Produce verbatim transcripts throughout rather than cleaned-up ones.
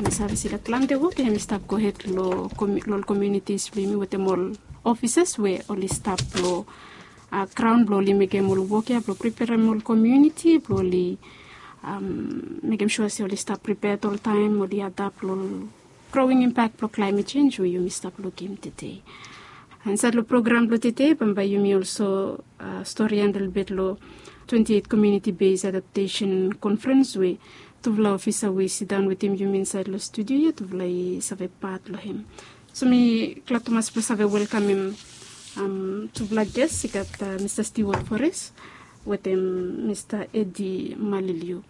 Mi save se i gat plante wok ya hem i stap gohed long ol komiunitis blong yumi wetem ol ofisas we oli stap long graon blong oli mekem ol wok ya blong priperem ol komiuniti blong oli mekem sua se oli stap pripeat oltaem oli adap long ol growing impak blong klaemet sens we yumi stap lukim tede. Insaed long program blong tede bambae yumi olso storian lelebet long twenti eit komiuniti bes adaptesen konfrens we tufala ofisa we i sidaon wetem yumi insaed long studio ya tufala i save pat long hem. So mi glad tumas blong save welkamem tufala ges i gat mista stiwat fores wetem mista edi maliliu.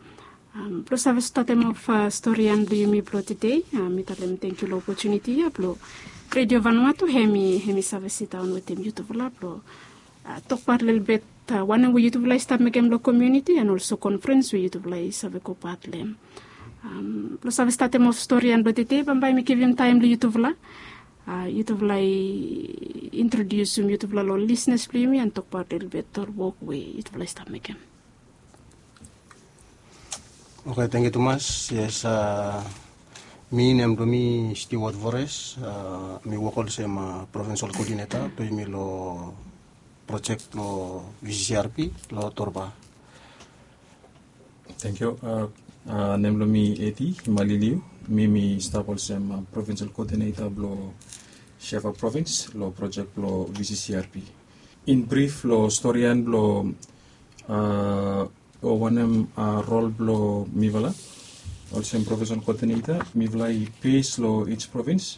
Blong save statem of storian blong yumi blong tede, mi talem tengkiu long opotuniti ya blong redio vanua tu hem i hem i save sidaon wetem yutufala blong tokbaot lelebet wanem we yutufala i stap mekem long komiuniti and olso konfrens we yutufala i save gobaot long hem. Blong save statem of storian blong tede bambae mi givim taem long yutufala. Yutufala i introdiusim yutufala long ol lisnas blong yumi and tokbaot lelebet ol wok we yutufala i stap mekem. Oke, tengkiu tumas. Yes, mi nem blong mi Stewart Vores. Mi wok olsem provinsal koodineta blong yumi long projek blong V C C R P long Torba. Tengkiu. Nem blong mi Edi Maliliu. Mi mi stap olsem provinsal koodineta blong Shefa provins long projek blong V C C R P. In brif long storian blong o wanem rol blong mifala olsem provinsal koodineta, mifala i bes long ij provins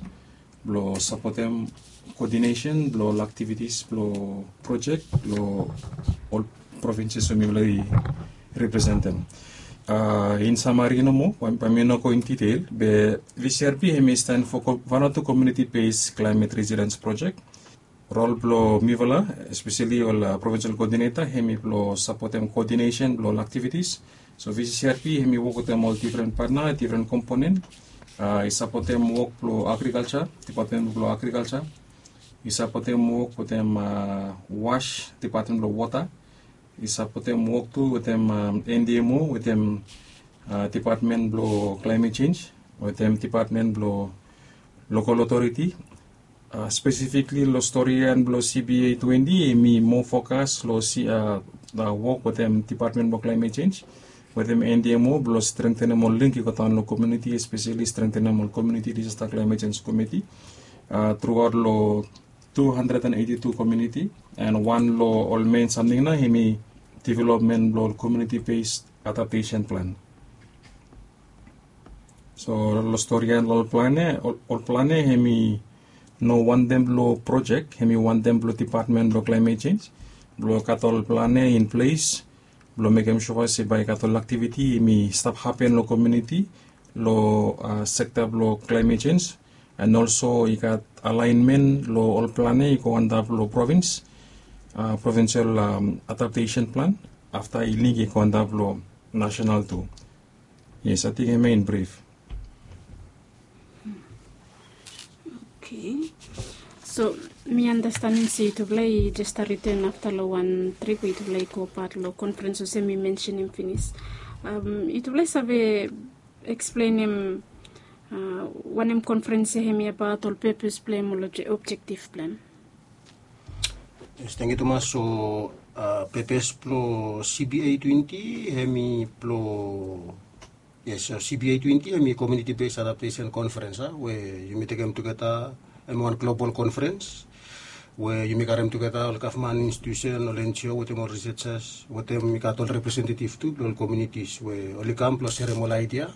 blong sapotem koodinesen blong ol aktivitis blong projek long ol provinses we mifala i representem. In samari nomo bae mi no go in ditel be V C R P hem i stan fo vanatu komiuniti bes klaemet residens projek. Rol blong mifala espeseli ol provinsal koodineta hem i blong sapotem koodinesen blong ol aktivitis. So V C C R P hem i wok wetem ol difren patna, difren komponen. I sapotem wok blong agrikalsa, dipatmen blong agrikalsa. I sapotem wok wetem was, dipatmen blong wota. I sapotem wok tu wetem N D M O wetem dipatmen blong klaemet sens wetem dipatmen blong lokal otoriti. Spesifikli long storian blong C B A twenti hem i moa fokas long wok wetem dipatmen blong klaemet sens wetem N D M O blong strengtenem ol link i godaon long komiuniti, espeseli strengtenem ol komiuniti disasta klaemet sens komiti truaot long tu handred and eiti tu komiuniti. And wan long ol men samting nao hem i developmen blong ol komiuniti bes adaptesen plan. So long storian long ol plan ya, ol plan ya hem i no wantem blong projek, hem i wantem blong dipatmen blong klaemet sens blong gat ol plan ya in ples blong mekem sua se bae i gat ol aktiviti hem i stap hapen long komiuniti long sekta blong klaemet sens. And olso i gat alaenmen long ol plan ya i go antap long provins, provinsal adaptesen plan, afta i link i go antap long nasenal tu. Yes, ating hem ya in brif. Oke. So mi anastenem se yutufala i jes stap riten afta long wan trip we yutufala i gobaot long konfrens olsem mi mensenem finis. Yutufala i save eksplenem wanem konfrens ya hem i abaot, ol pepes blong hem, ol objektif blong hem? Yes, tengkiu tumas. So pepes blong C B A twenti hem i blong, yes, so C B A twenti hem i komiuniti bes adaptesen konfrens a we yumi tekem tugeta hem i wan global konfrens we yumi karem tugeta ol gavman institusen, ol N G O wetem ol risejas wetem i gat ol representetiv tu blong ol komiunitis we oli kam blong serem ol aidia,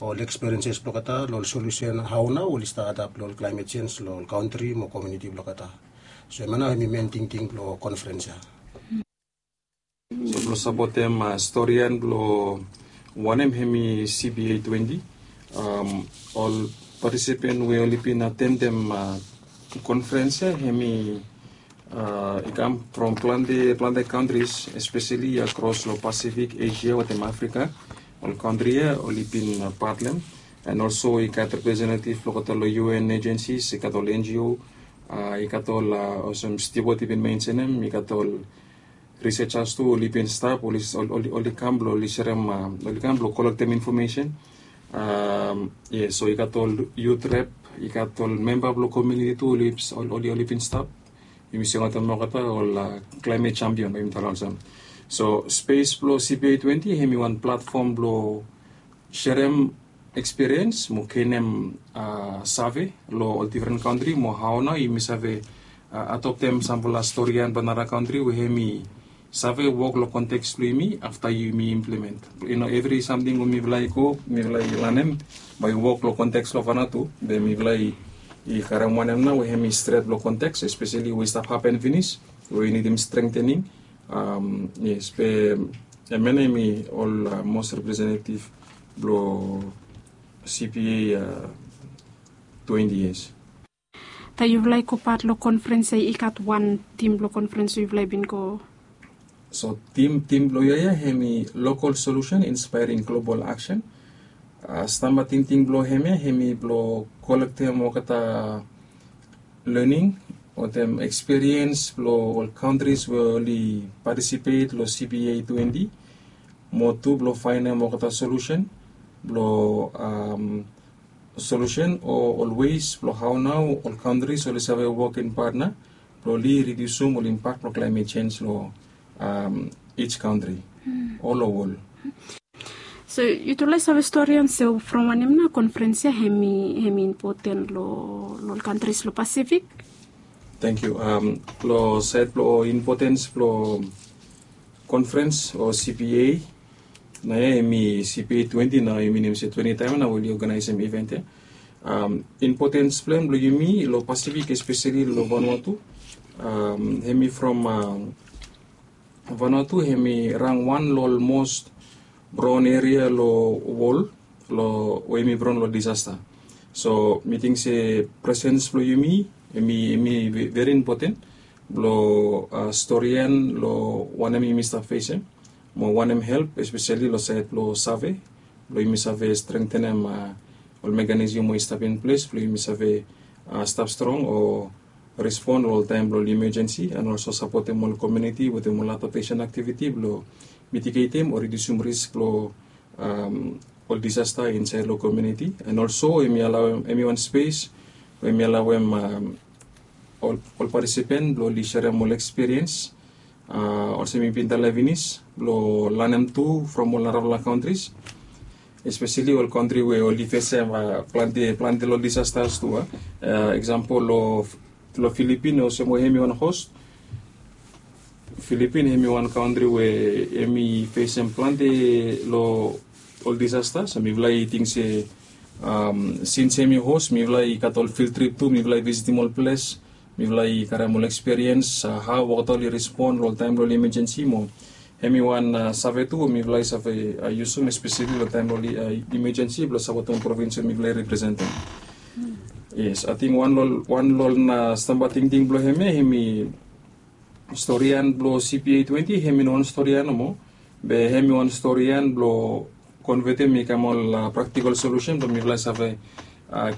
ol eksperienses blong olgeta long ol solusen hao nao oli stap adap long ol klaemet sens long ol kantri mo komiuniti blong olgeta. So hemia nao hem i men tingting blong konfrens ya. So blong sapotem storian blong wanem hem i C B A twenti, ol patisipen we oli bin atendem konfrens ya hem i i kam from plante plante kantris, espeseli akros long Pasifik, Esia wetem Afrika. Ol kantri ya oli bin patlem. And olso i gat representetiv blong olgeta long U N ejensis, i gat ol N G O, i gat ol olsem Stewart i bin mensenem, i gat ol risejas tu oli bin stap, oli kam blong oli serem, oli kam blong kolektem infomesen. Yes, so i gat ol yut rep, i gat ol memba blong komiuniti tu oli oli bin stap. Yumi singaot em olgeta ol klaimet champion bae yumi talem olsem. So spes blong cpa twenti hem i wan platfom blong serem ekspiriens mo genem save long ol difren kantri mo hao nao yumi save adoptem samfala storian blong nara kantri we hem i save wok long konteks blong yumi afta yumi implemen. Evri samting we mifala i go mifala i lanem bae i wok long konteks blong vanatu be mifala i karem wanem nao we hem i stret long konteks espeseli we i stap hapen finis we i nidim strengtening. Yes be em ya nao hem i ol mos representetiv blong cpa twenti years. Taem yufala i go pat long konfrens ya i gat wan tim blong konfrens we yufala i bin go? So tim tim blong yia ya hem i lokol solusen inspairing global aksen. Stamba tingting blong hem ya hem i blong kolektem olgeta lening wetem ekspiriens blong ol kantris we oli patisipet long cpa twenti mo tu blong faenem olgeta solusen blong solusen o ol wes blong hao nao ol kantris oli save wok in patna blong oli ridiusum ol impak blong klaimet sens long ij kantri ol long wol. So yutufala i save stori on se from wanem nao konfrens ya hem i impoten long ol kantris long pasifik? Tangkiu. Long saed blong impotens blong konfrens o cpa nao ya hem i cpa twenti nao yumi nem se twenti taem nao we oli oganaesem iven ya. Impotens blong hem blong yumi long pasifik espeseli long vanua tu hem i from vanua tu hem i rang wan long ol mos braon eria long wol long we hem i braon long disasta. So mi ting se presens blong yumi hem i veri impoten blong storian long wanem yumi stap fesem mo wanem help espeseli long saed blong save blong yumi save strengtenem ol mekanism we i stap in ples blong yumi save stap strong o respon long ol taem blong ol imejensi and olso sapotem ol komiuniti wetem ol adaptesen aktiviti blong mitigetem o ridiusum risk blong ol disasta insaed long komiuniti and olso hem i wan spes we hem i alaoem ol patisipen blong oli serem ol ekspiriens olsem mi bin talem finis blong lanem tu from ol narafala kantris espeseli ol kantri we oli fesem plante plante long disastas tu a eksampol long filipin olsem we hem i wan hos. Filipin hem i wan kantri we hem i fesem plante long ol disastas mifala i ting se sins hem i hos mifala i gat ol fil trip tu mifala i visitim ol ples mifala i karem ol ekspiriens hao olgeta oli respon long ol taem blong ol imejensi mo hem i wan save tu we mifala i save yusum espeseli long taem blong ol imejensi blong sapotem ol provins we mifala i representem. Yes ating wan long ol na stamba tingting blong hem ya hem i storian blong cpa twenti hem i no wan storian nomo be hem i wan storian blong konvetem i kam ol praktikal solusen blong mifala i save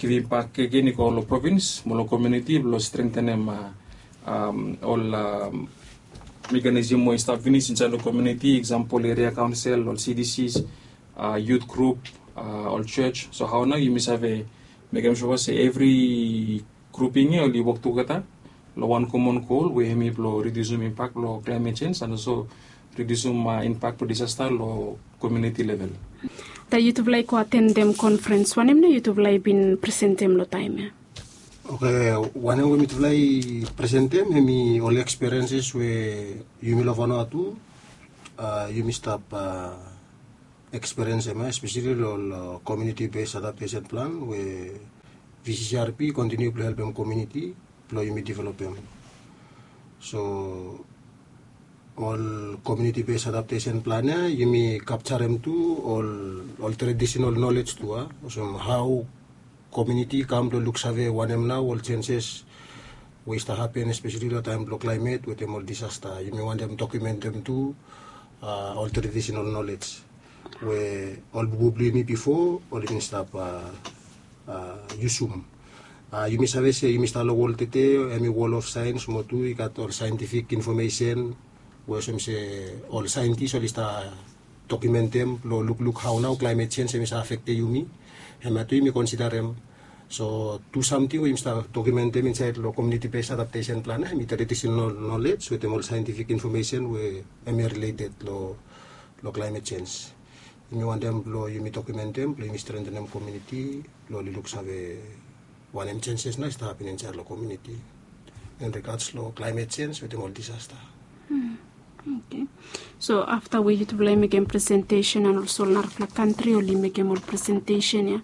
givim bak gegen i go long provins mo long komiuniti blong strengtenem ol mekanism we i stap finis insaed long komiuniti eksampol eria kaonsel ol cdcs yut grup ol jos so hao nao yumi save mekem sua se evri gruping ya oli wok tugeta long wan komon gol we hem i blong ridiusum impak blong klaimet sens and olso ridiusum impak blong disasta long komiuniti level. Taem yutufala i go atendem konfrens wanem nao yutufala i bin presentem long taem ya? Oke, wanem we mitufala i presentem hem i ol ekspirienses we yumi long vanua tu yumi stap ekspiriensem ya espeseli long ol komiuniti bes adaptesen plan we vccrp i kontiniu blong helpem komiuniti blong yumi developem. So ol komiuniti bes adaptesen plan ya yumi kapjarem tu ol tradisinal nolej tu a olsem hao komiuniti i kam blong luksave wanem nao ol senses we i stap hapen espeseli long taem blong klaimet wetem ol disasta yumi wantem dokumentem tu ol tradisinal nolej we ol bubu blong yumi bifo oli bin stap yusum. Yumi save se yumi stap long wol tete hem i wol of saens mo tu i gat ol saentifik infomesen we olsem se ol saentis oli stap dokumentem lo lukluk hao nao klaemet sens em i save afekte yumi. Hemia tu yumi konsidarem. So tu samting we yumi save dokumentem insaed lo komiuniti bes adaptesen plan ya em i traditisinal nolej wetem ol saentifik infomesen we em i rileted lo klaemet sens. Yumi wantem blo yumi dokumentem blo yumi strentenem komiuniti blo oli luksave wanem senses nao i stap hapen insaed lo komiuniti, in rigats lo klaemet sens wetem ol disasta. So afta we yutufala i mekem presentesen an olso ol narafala kantri oli mekem ol presentesen ya,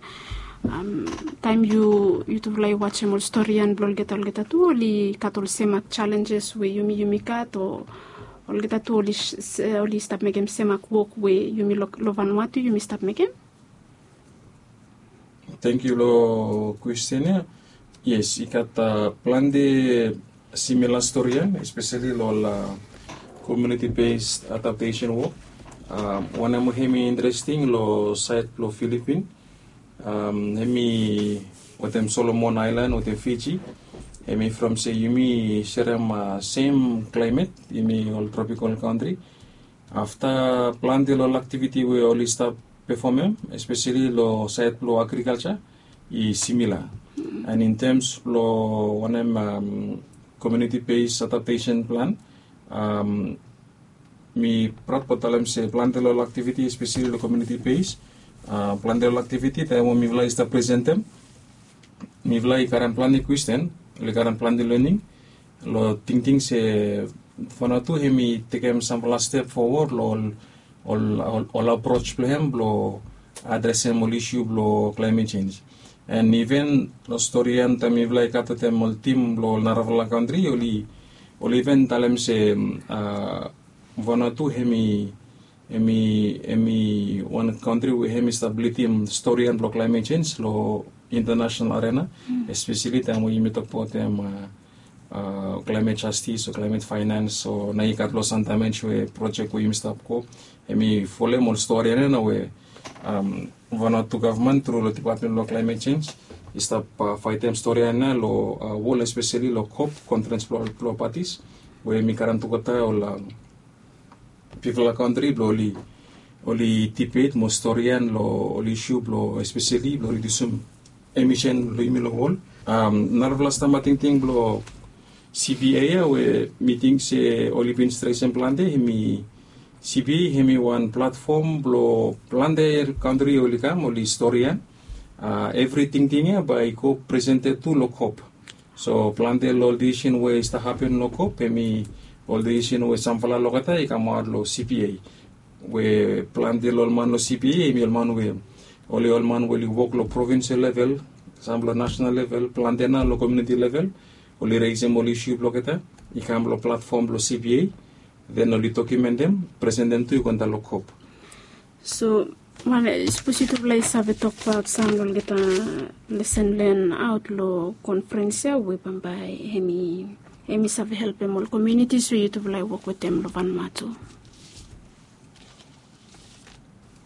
taem yutufala i wajem ol storian blong olgeta olgeta tu oli gat ol semak jalenjes we yumi yumi gat o olgeta tu oli stap mekem semak wok we yumi long vanua tu yumi stap mekem? Tenkyu long kwestin ya. Yes, i gat plante simila storian espeseli long ol komiuniti bes adaptesen wok. Wanem we hem i interesting long saed blong Filipin, hem i wetem Solomon Aelan wetem Fiji. Hem i from se yumi serem sem klaemet, yumi ol tropikal kantri. Afta plante long ol aktiviti we oli stap pefomem espeseli long saed blong agrikalja i simila. An in tems blong wanem komiuniti bes adaptesen plan, mi praod blong talem se plante long ol aktiviti espeseli long komiuniti bes, plante long ol aktiviti taem we mifala i stap presentem, mifala i karem plante kwestin, oli karem plante lening long tingting se Vanuatu hem i tekem samfala step fowod long ol ol aproj blong hem blong adresem ol isu blong klaemet sens. An iven long storian taem mifala i gat wetem ol tim blong ol narafala kantri oli iven talem se Vanuatu hem i hem i hem i wan kantri we hem i stap lidim storian blong klaemet sens long intanasenal arena, espeseli taem we yumi tokbaot hem klaemet jastis o klaemet faenans o nao i gat long san damej we projek we yumi stap go. Hem i folem ol storian ya nao we Vanuatu gavman tru long dipatmen blong klaemet sens i stap faetem storian ya long wol espeseli long kop konferens blong patis we hem i karem tugeta ol bigfala kantri blong oli oli dibet mo storian long ol isu blong espeseli blong ridiusim emisen blong yumi long wol. Narafala stamba tingting blong CBA ya we mi ting se oli bin stresem plante hem i CBA hem i wan platfom blong plante kantri oli kam oli storian evri tingting ya bae i go presented tu long kop. So plante long ol disisen we i stap hapen long kop hem i ol disisen we samfala olgeta i kamaot long CBA. We plante long ol man long CBA hem i ol man we oli ol man we oli wok long provinsel level, sam long nasenal level, plante nao long komiuniti level oli resem ol isu blong olgeta i kam long platfom blong CBA. Den oli dokumentem, presentem tu i go antap long kop. So sapos yutufala i save tokbaot sam long olgeta lesen len aot long konferens ya we bambae hem i save helpem ol komiunitis we yutufala i wok wetem long Vanuatu.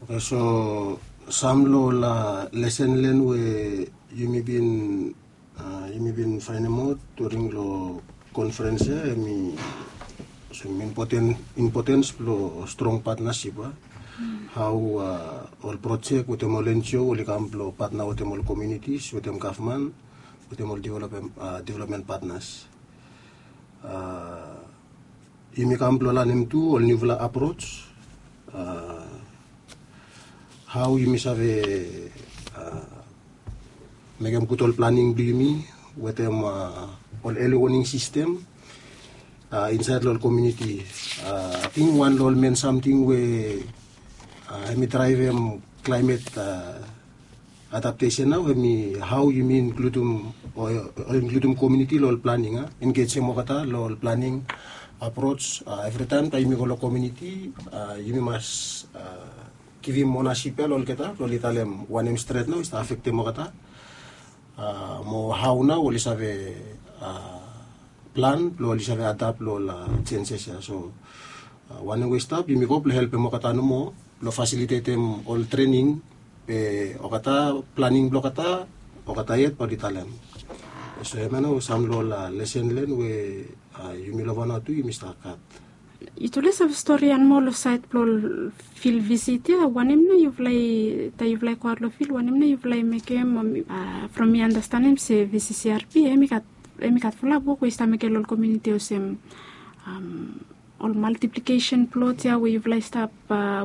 Oke, so sam long ol lesen len we yumi bin yumi bin faenemaot during long konferens ya hem i impotens blong strong patnasip ya. Hao ol projek wetem ol NGO oli kam blong patna wetem ol komiunitis wetem gavman wetem ol developmen patnas. Yumi kam blong lanem tu ol niufala aproj hao yumi save mekem gud ol planing blong yumi wetem ol eli woning sistem insaed long ol komiuniti. Ating wan long ol men samting we hem i draevem klaemet adaptesen nao hem i hao yumi inkludim o inkludim komiuniti long ol planing a engejem olgeta long ol planing aproj. Evritaem taem yumi go long komiuniti yumi mas givim onasip ya long olgeta blong oli talem wanem stret nao i stap afektem olgeta mo hao nao oli save plan blong oli save adap long ol jenses ya. So wanem we i stap yumi go blong helpem olgeta nomo blong fasilitetem ol trening be olgeta planing blong olgeta olgeta yet bae oli talem. So hemia nao sam long ol lesen len we yumi long Vanuatu yumi stap gat. Yutufala i save stori ia moa long sait blong fil visit ia, wanem nao yufala i taem yufala i goaot long fil, wanem nao yufala i mekem? From mi anastenem se vccrp hem i gat fulap wok we i stap mekem long ol komiuniti olsem ol maltiplikesen plot ia we yufala i stap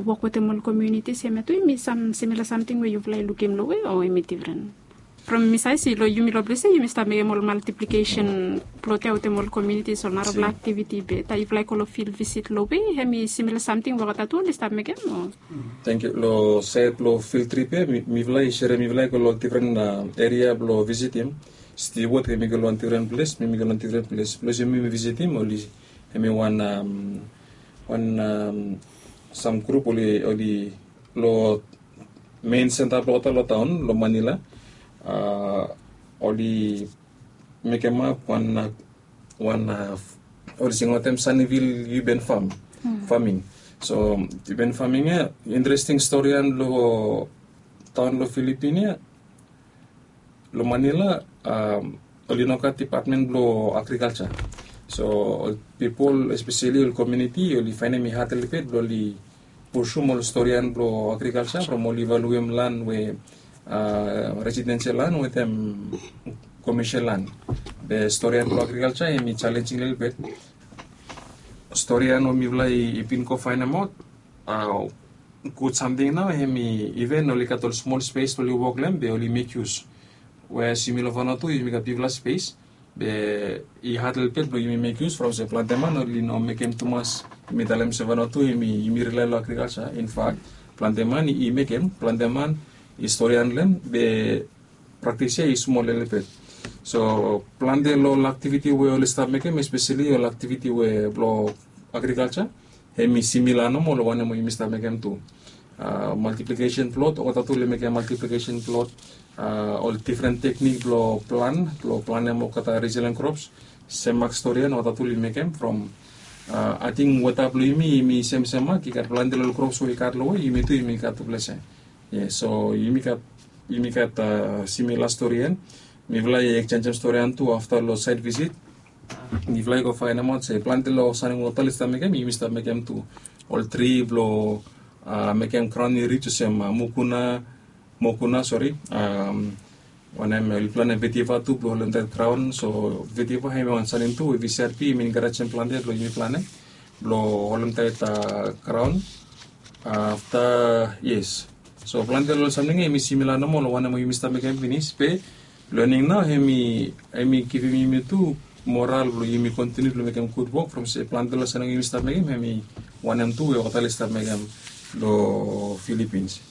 wok wetem ol komiunitis hem ia tu hem i sam simila samting we yufala i lukim long we o hem i difren? From mi save si long yumi long ples ia yumi stap mekem ol maltiplikesen plot ia wetem ol komiunitis ol narafala aktiviti be taem yufala i go long fil visit long we hem i simila samting we olgeta tu oli stap mekem o? Tangkiu. Long sait blong fil trip ia mifala i serem mifala i go long difren eria blong visitim. Stiwot hem i go long wan difren ples mi mi go long difren ples ples yumi mi visitim oli hem i wan wan sam grup oli oli long mein senta blong olgeta long taon long manila. Oli mekemap wan wan oli singaotem sanivil yuben fam faming. So yuben faming ya interesting stori an long taon long filipin ya long manila oli no gat dipatmen blong agrikalsa. So ol pipol espeseli ol komiuniti oli faenem i had lelebet blong oli pusum ol storian blong agrikalsa from oli valuem lan we residensial lan wetem komersel lan. Be storian blong agrikalsa hem i jalenjing lelebet. Storian we mifala i bin go faenemaot gud samting nao hem i iven oli gat ol smol spes blong oli wok long hem be oli mek yus we as yumi long vanua tu yumi gat bigfala spes be i had lelebet blong yumi mek yus from se plante man oli no mekem tumas. Yumi talem se vanua tu yumi yumi rilae long agrikalsa infak plante man i mekem plante man i storian long hem be praktis ya i smol lelebet. So plante long ol aktiviti we oli stap mekem espeseli ol aktiviti we blong agrikalsa hem i simila nomo long wanem we yumi stap mekem tu. Maltiplikesen plot olgeta tu oli mekem maltiplikesen plot ol difren teknik blong plan blong planem olgeta resilien krops. Sem mak stori ya na olgeta tu oli mekem from ating weta blong yumi yumi semsem mak i gat plante long ol krops we i gat long we yumi tu yumi gat tufala sem. Yes so yumi gat yumi gat simila stori ya. Mifala i eksenjem stori ya tu afta long sait visit mifala i go faenemaot se plante long sanem wota oli stap mekem yumi stap mekem tu. Ol tri blong mekem graon i rij olsem mukuna mokuna sori wanem oli planem vetiva tu blong holem taet graon so vetiva hem i wan sanem tu we vcrp yumi enkarejem plante blong yumi planem blong holem taet graon. Afta yes so plante long ol samting ya hem i simila nomo long wanem we yumi stap mekem finis be lening nao hem i hem i givim yumi tu moral blong yumi kontiniu blong mekem gud wok from se plante long samting we yumi stap mekem hem i wanem tu we olgeta oli stap mekem long filipins.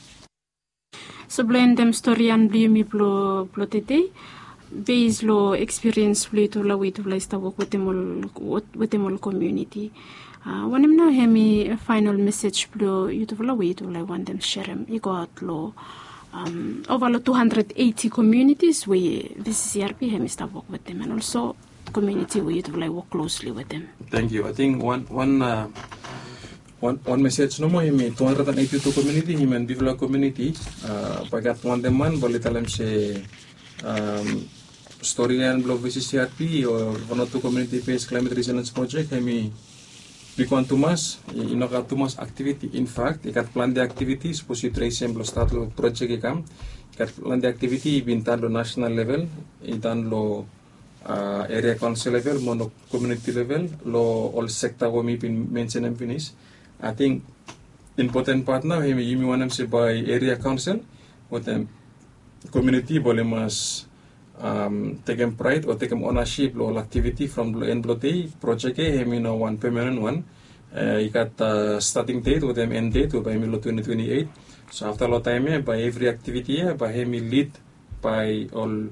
So blong endem stori ya blong yumi blong blong tede bes long ekspiriens blong yutufala we yutufala i stap wok wetem ol wetem ol komiuniti wanem nao hem i faenol mesej blong yutufala we yutufala i wantem serem i goaot long ova long tu handred eiti komiunitis we vccrp hem i stap wok wetem an olso komiuniti we yutufala i wok klosli wetem. Tangkiu ating wan wan wan mesej nomo hem i tu handred an eiti tu komiuniti hem i wan bifala komiuniti. Bae i gat wantem man bae oli talem se stori ya blong vccrp o wan o tu komiuniti bes klaemet resilens projek hem i bigwan tumas. I no gat tumas aktiviti infak i gat plante aktiviti sapos yu tresem blong stat long projek i kam i gat plante aktiviti i bin tan long nasenal level i tan long eria kaonsel level mo long komiuniti level long ol sekta we mi bin mensenem finis. Ating impoten pat nao hem i yumi wanem se bae eria kaonsel wetem komiuniti bae oli mas tekem praed o tekem onasip long ol aktiviti from long en blong dei projek ya hem i no wan pemanen wan i gat stating det wetem en det we bae hem i long twenti twenti eit. So afta long taem ya bae evri aktiviti ya bae hem i lid bae ol